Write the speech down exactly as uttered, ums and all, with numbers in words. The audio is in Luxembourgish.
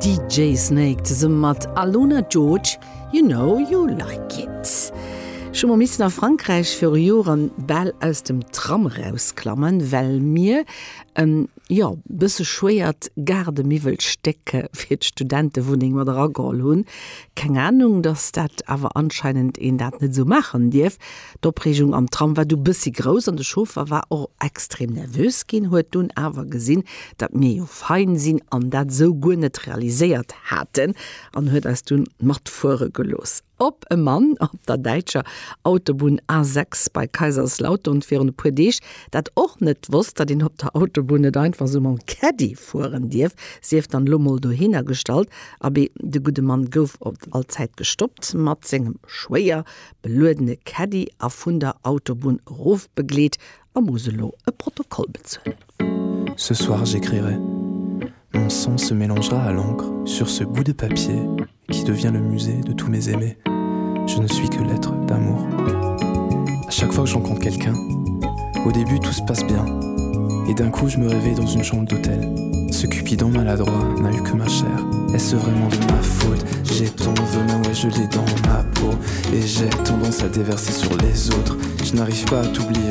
D J Snake zesumme mat Aluna George, You Know You Like It. Ech hu mol missen a Frankräich viru Joren bal aus dem Tram rausklammen, well mir en, jo, bësse schwéiert Gaardemiwwelstéck fir d'Studentewunneng mat erageholl hunn. Keng Anung, dass dat awer anscheinend een dat net sou maachen dierf. D'Opreegung am Tram war du bëssi grouss an de Chauffer war och extrem nervös ginn, huet dunn awer gesinn, datt mir jo fein sinn an dat sou guer net realiséiert haten an huet eis dunn matfuere gelooss. Op e Mann op der däitscher Autobunn A sechs bei Kaiserslautern virun e puer Deeg dat och net wosst, datt een op der Autobunn net einfach sou mam Caddy fueren dierf, sief dann lo mol dohinner gestallt. Abee, de gudde Mann gouf op all Zäit gestoppt mat sengem schwéier beluedene Caddy a vun der Autobunn erofbegleet a muss elo e Protokoll bezuelen. Ce soir, j'écrirai. Mon sang se mélangera à l'encre sur ce bout de papier qui devient le musée de tous mes aimés. Je ne suis que l'être d'amour. À chaque fois que je rencontre quelqu'un, au début tout se passe bien. Et d'un coup je me réveille dans une chambre d'hôtel. Ce cupidon maladroit n'a eu que ma chair. Est-ce vraiment de ma faute? J'ai ton venin, ouais, je l'ai dans ma peau. Et j'ai tendance à le déverser sur les autres. Je n'arrive pas à t'oublier.